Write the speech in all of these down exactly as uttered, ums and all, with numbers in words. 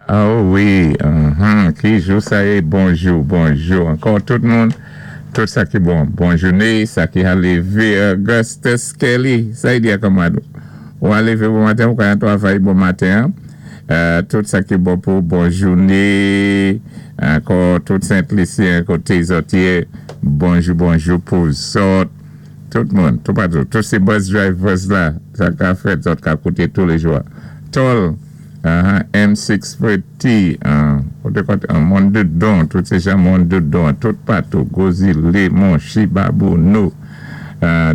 Oh wi, uh-huh. Ki jou sa yé? Bonjou, bonjou. Ankò tout moun, tout sa ki bon. Bon jouné, sa ki a lévé Augustus Kelly. Sa i di a kanmad. Ou a lévé bon maten, ou ka yon twavay bon maten. Euh, tout sa ki bon pou bon jouné. Ankò tout Sent-Lisyen koté zòt yé. Bonjou, bonjou pou zòt. Tout moun, tout patou. Tout sé bus drivers la. Sa ka fèt, zòt ka kouté tou lé jou. Tol. Uh-huh, M sis T, koté koté, Mondodon, tout sé jan Mondodon, tout patou, Gozile, Monchi, Babonneau,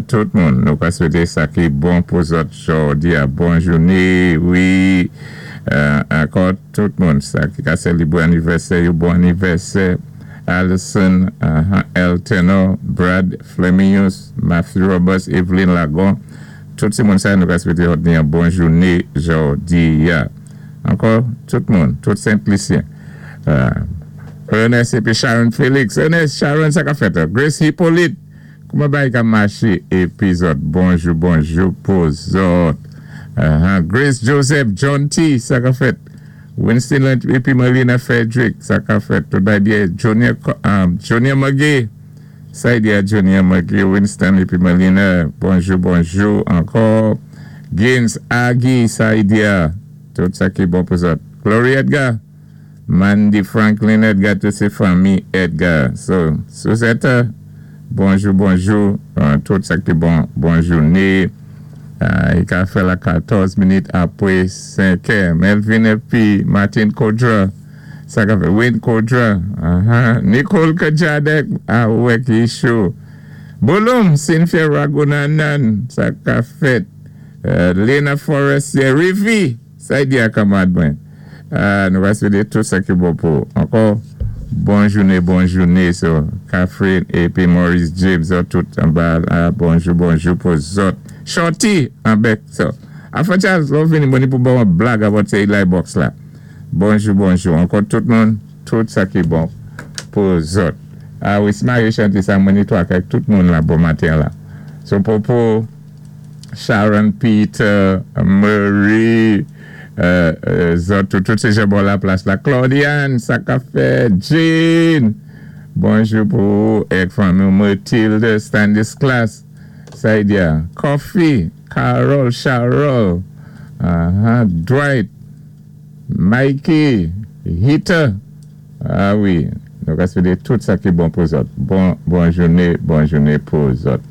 tout moun, nou ka swété sa ki bon pou zòt jòdi a bon jouné, wi, ankò tout moun, sa ki ka sélébwé anivèsè, yo bon anivèsè, Alison, El Tenor, Brad Flemius, Matthew Roberts, Evelyn Lagon, tout sé moun sa nou ka swété jòdi a bon jouné jòdi a. Ankò, tout moun, tout Sent-Lisyen. Ernest épi Sharon Felix. Ernest, Sharon, sa ka fèt. Grace Hippolyte. Kouman bay ka maché épi zòt. Bonjou, bonjou pou zòt. Grace Joseph, John T. Sa ka fèt. Winston épi Marina Frederick. Sa ka fèt. Tout bay dié Junior Magui. Sa y di a Junior Magui. Winston épi Marina. Bonjou, bonjou. Ankò. Gaines Agui. Sa y di a. Tout sa ki bon pou zòt. Glory Edgar. Mandy Franklin Edgar, tout sé fanmi Edgar. So, Suzette, bonjou, bonjou. Tout sa ki bon, bon jouné. I ka fè la katòz minit apwé senk è. Melvin épi Martin Kodra. Sa ka fè Wayne Kodra. Nicole Kajadek. A wè ki chou. Bolum, Cynthia Ragunanan. Sa ka fèt. Lena Forestier. Rivi. Sa y di a kanmad mwen. Nou va swété tout sa ki bon pou. Ankò, bon jouné, bon jouné. So, Catherine épi Maurice James, zòt tout anba la, bonjou, bonjou pou zòt. Shorty, anbèk. So, Afan Charles, lò vini mwen ni pou bon blag about sé Eli Box la. Bonjou, bonjou. Ankò tout moun, tout sa ki bon pou zòt. A wi, si Marie chanté sa mwen ni to ak tout moun la bon maten la. So, pou pou Sharon, Peter, Murray, zòt, tout sé jan bò la plas la. Claudiane, sa ka fèt, Jane, bonjou pou èk fanmi Mathilde, Stanislas, Saidia, Coffee, Carol, Charol, Dwight, Mikey, Hita, a wi, nou ka swété tout sa ki bon pou zòt. Bon, bon jouné, bon jouné pou zòt.